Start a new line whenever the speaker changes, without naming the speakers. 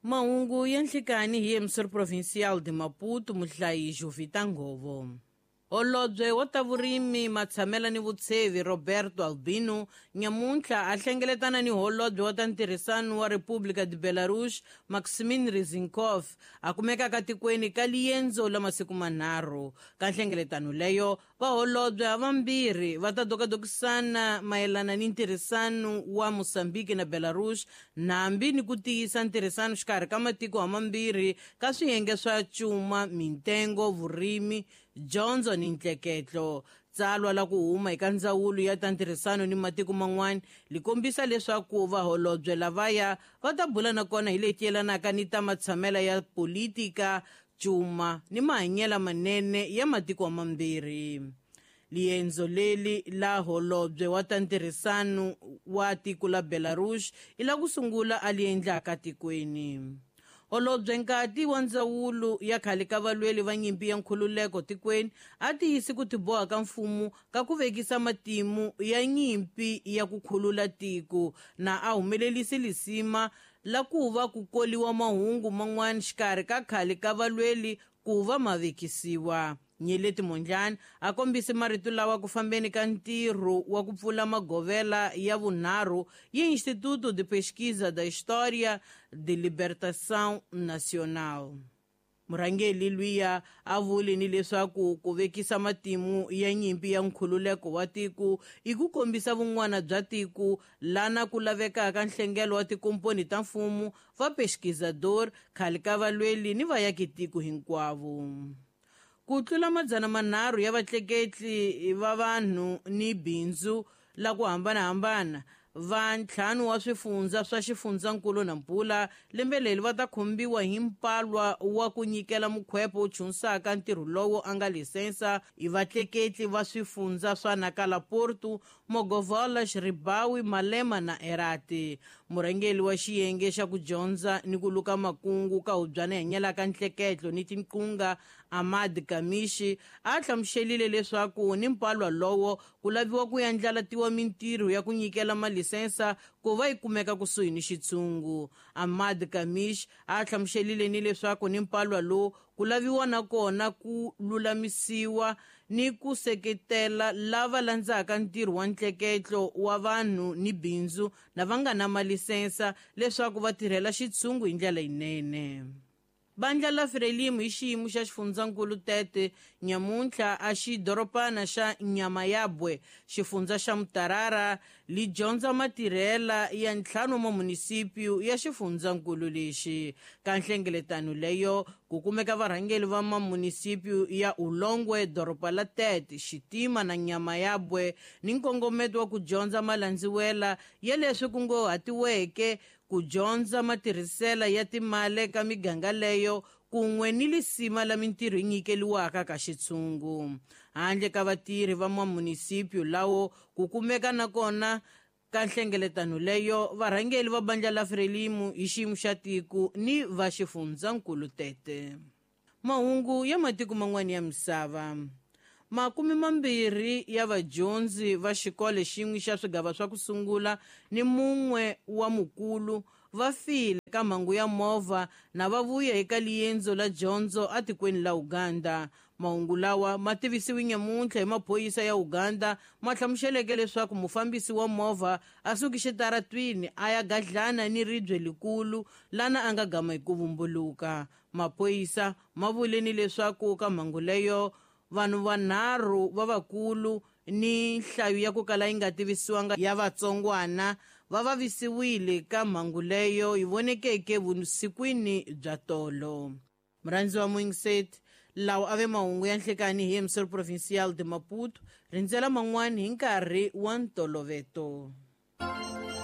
Mahungu ya nhlikani hi emissor provincial de Maputo, muhlayi Jovita Ngovo. Holobye wa ta vurimi, matshamela ni vutshevi Roberto Albino nyamuntlha a hlengeletana ni holobye wa ta ntirhisano wa República de Belarus Maximin Rizinkov, a kumekaka tikweni ka liendzo la masiku manharhu. Ka nhlengeletano leyo, vaholobye havambirhi va ta dokadokisana mayelana ni ntirhisano wa Mozambique na Belarus, nambi ni ku tiyisa ntirhisano xikarhi ka matiko hamambirhi ka swiyenge swa cuma, mintengo, vurimi, dyondzo ni ntleketlo. Tsalwa la ku huma eka ndzawulo ya ta ntirhisano ni matiko man'wana li kombisa leswaku vaholobye lavaya va ta bula na kona hi leti yelanaka ni ta matshamela ya politika, cuma ni mahanyelo manene ya matiko mambirhi. Liendzo leli la holobye wa ta ntirhisano wa tiko la Belarus i la ku sungula a li endlaka tikweni. Holobye nkati wa ndzawulo ya khale ka valweli va nyimpi ya nkhululeko tikweni a tiyisi ku tiboha ka mfumo ka ku vekisa matimu ya nyimpi ya ku khulula tiko, na a humelelisi lisima la ku va ku koliwa mahungu man'wana xikarhi ka khale ka valweli ku va ma vekisiwa. Nyeleti Mondlane a kombise marito lawa ku fambeni ka ntirho wa ku pfula magovela ya vunharhu ya Instituto de Pesquisa da História de Libertação Nacional. Murhangeri luya a vule ni leswaku ku vekisa matimu ya nyimpi ya nkhululeko wa tiko i ku kombisa vun'wana bya tiko lana ku lavekaka nhlengelo wa tikomponi ta mfumo va pesquisador, khale ka valweli ni vayaki tiko hinkwavo. Ku tlula 300 ya vatleketli va vanhu ni bindzu la ku hambanahambana va ntlhanu wa swifundza swa xifundzankulu na Mpula lembe leri va ta khombiwa hi mpalwa wa ku nyikela mukhwepo wu chunsaka ntirho lowo a nga lisensa i vatleketli va swifundza swa Nakala, Porto, Mogovola, Xiribawi, Malema na Erati. Murhangeri wa xiyenge xa ku dyondza ni ku luka makungu ka hubyana hanyelaka ntleketlo ni tinqunga Ahmad Kamishi a hlamuselile leswaku ni mpalwa lowo ku laviwa ku yandlalatiwa mintirho ya ku nyikela malisensa ku va yi kumeka kusuhi ni xitshungu. Ahmad Kamish a hlamuselile ni leswaku ni mpalwa lowu ku laviwa na kona ku lulamisiwa ni ku seketela lava landzaka ntirho wa ntleketlo wa vanhu ni bindzu na va nga na malisensa leswaku va tirhela xitshungu hi ndlela yinene. Bandla la Frelimo hi xiyimo xa xifundzankulu Tete nyamuntlha a xidorobana xa Nyamayabwe, xifundza xa Mutarara, li dyondza matirhela ya ntlhanu wa munisipyu ya xifundzankulu lexi. Ka nhlengeletano leyo ku kumeka varhangeri va mamunisipyu ya Ulongwe, doroba la Tete, Xitima na Nyamayabwe ni nkongometo wa ku dyondza malandziwela ya leswi kunguhatiweke ku dyondza matirhisela ya timali ka miganga leyo kun'we ni lisima la mintirho yi nyikeliwaka ka xitshungu. Handle ka vatirhi va mamunisipyu lawo ku kumeka na kona ka nhlengeletano leyo varhangeri va bandla la Frelimo hi xiyimo xa tiko ni va xifundzankulu Tete. Mahungu ya matiko man'wana ya misava. 20 ya vadyondzi va xikolo xin'we xa swigava swa ku sungula ni mun'we wa mukulu va file ka mhangu ya movha na va vuya eka liendzo la dyondzo atikweni la Uganda. Mahungu lawa ma tivisiwe nyamuntlha hi maphorisa ya Uganda ma hlamuseleke leswaku mufambisi wa movha a suki xitaratwini a ya gadlana ni ribye likulu lana a nga gama hi ku vumbuluka. Maphorisa ma vule ni leswaku ka mhangu leyo vanhu vanharhu va vakulu ni nhlayo ya ku kala yi nga tivisiwanga ya vatsongwana va vavisiwile ka mhangu leyo yi vonekeke vusikwini bya tolo. Murhandzi wa Moingset, lawa a ve mahungu ya nhlekani hi emissor provincial de Maputo, rindzela man'wani hi nkarhi wa ntoloveto.